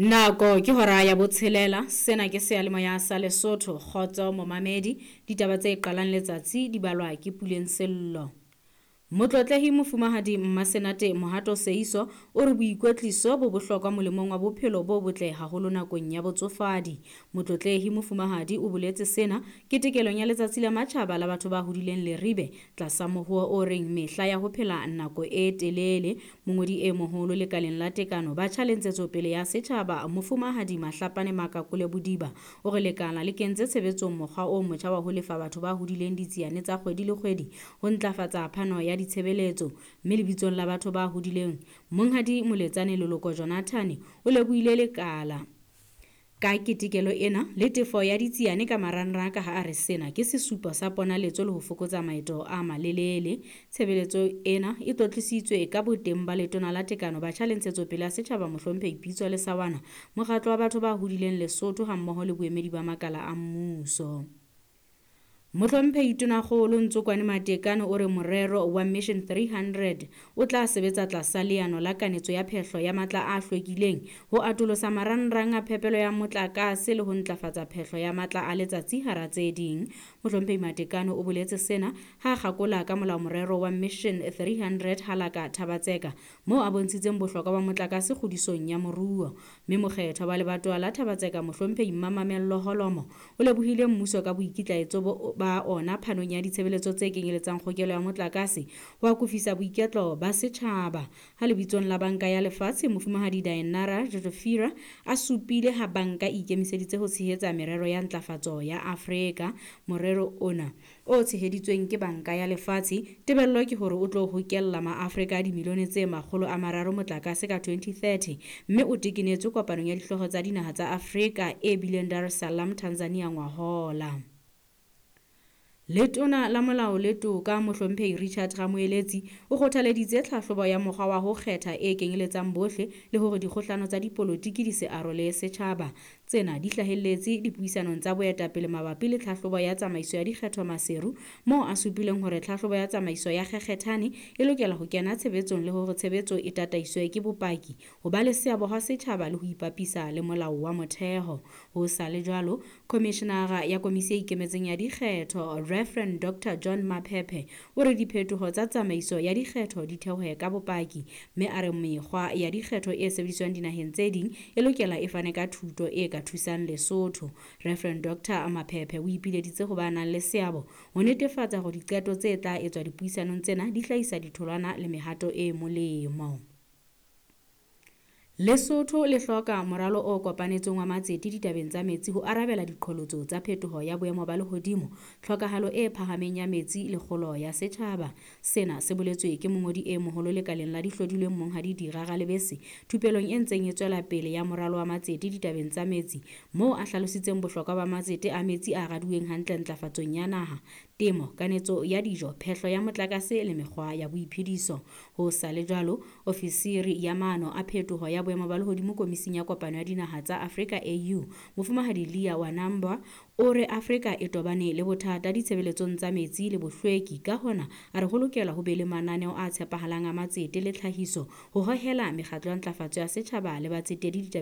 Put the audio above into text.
Nako ke hora ya botshelela. Sena ke seyalemoya sa Lesotho. Kgotso momamedi. Ditaba tse qalang letsatsi di balwa ke Puleng Sello. Motlotlehi Mofumahadi Mmasenate Mohato Seiso o re boikwetliso bo bohlokwa molemong wa bophelo bo botle haholo nakong ya botsofadi. Motlotlehi Mofumahadi o boletse sena ketekelong ya letsatsi la matjhaba la batho ba hodileng Leribe tlasa mohuo o reng mehla ya ho phela nako e telele. Mongodi e moholo lekaleng la tekano batjha le ntshetsopele ya setjhaba Mofumahadi Mahlapane Makakole Bodiba o re lekala le kentse tshebetsong mokgwa o motjha wa ho lefa batho ba hodileng ditsiane tsa kgwedi le kgwedi ho ntlafatsa phano ya ditshebeletso. Mme lebitsong la batho ba hodileng, Monghadi Moletsane Leloko Jonathan o lebohile lekala ka ketekelo ena le tefo ya ditsiane ka marangrang ka ha a re sena ke sesupo sa ponaletso le ho fokotsa maeto a malelele. Tshebeletso ena e tlotlisitswe ka boteng ba letona la tekano batjha le ntshetsopele ya setjhaba Mohlomphehi Pitso Lesawana, mokgatlo wa batho ba hodileng Lesotho hammoho le boemedi ba makala a mmuso. Mohlomphehi Tonakgolo Ntsokwane Matekane o re morero wa Mission 300 o tla sebetsa tlasa leano la kanetso ya phehlo ya matla a hlwekileng, ho atolosa marangrang a phepelo ya motlakase le ho ntlafatsa phehlo ya matla a letsatsi hara tse ding. Mohlomphehi Matekane o boletse sena ha a kgakola ka molao morero wa Mission 300 halaka Thabatseka, moo a bontshitseng bohlokwa ba motlakase kgodisong ya moruo. Mme mokgethwa wa lebatowa la Thabatseka Mohlomphehi Mmamamello Holomo o lebohile mmuso ka boikitlaetso ba ona phanong ya ditshebeletso tse kenyeletsang kgokelo ya motlakase ho akofisa boiketlo ba setjhaba. Ha lebitsong la Banka ya Lefatshe, Mofumahadi Dainara Jodofira a supile ha banka e ikemiseditse ho tshehetsa merero ya ntlafatso ya Afrika. Morero ona o tsheheditsweng ke Banka ya Lefatshe, tebello ke hore o tlo hokella maAfrika a dimilione tse 300 motlakase ka 2030, mme o tekenetswe kopanong ya dihlooho tsa dinaha tsa Afrika e bileng Dar es Salaam, Tanzania ngwahola. Letona la Molao le Toka Mohlomphehi Richard Ramoeletsi o kgothaleditse tlhahlobo ya mokgwa wa ho kgetha e kenyeletsang bohle le hore dikgohlano tsa dipolotiki di se arole setjhaba. Tsena di hlahelletse dipuisanong tsa boetapele mabapi le tlhahlobo ya tsamaiso ya dikgetho Maseru, moo a supileng hore tlhahlobo ya tsamaiso ya kgekgethane e lokela ho kena tshebetsong le hore tshebetso e tataiswe ke bopaki, ho ba le seabo ha setjhaba le ho ipapisa le molao wa motheo. Ho sa le jwalo, Khomishenara ya Komisi e Ikemetseng ya Dikgetho Reverend Dr John Maphephe o re diphetoho tsa tsamaiso ya dikgetho di theohe ka bopaki, mme a re mekgwa ya dikgetho e sebediswang dinaheng tse ding e lokela e fane ka thuto e ka thusang Lesotho. Reverend Dr Maphephe o ipileditse ho ba nang le seabo ho netefatsa hore diqeto tse tla etswa dipuisanong tsena di hlahisa ditholwana le mehato e molemo. Lesotho le hloka moralo o kopanetsweng wa matsete ditabeng tsa metsi ho arabela diqholotso tsa phetoho ya boemo ba lehodimo, tlhokahalo e phahameng ya metsi le kgolo ya setjhaba. Sena se boletswe ke mongodi e moholo lekaleng la dihlodilweng Monghadi Dira Ralebese thupelong e ntseng e tswela pele ya moralo wa matsete ditabeng tsa metsi, moo a hlalositseng bohlokwa ba matsete a metsi a raduweng hantle ntlafatsong ya naha, temo, kanetso ya dijo, phehlo ya motlakase le mekgwa ya boiphediso. Ho sa le jwalo, ofisiri ya maano a phetoho ya boemo ba lehodimo Komising ya Kopano ya Dinaha tsa Afrika AU, Mofumahadi Leah Wanambwa o re Afrika e tobane le bothata ditshebeletsong tsa metsi le bohlweki, ka hona a re ho lokela ho be le mananeo a tshepahalang a matsete le tlhahiso ho hohela mekgatlo ya ntlafatso ya setjhaba le batsetedi ditabeng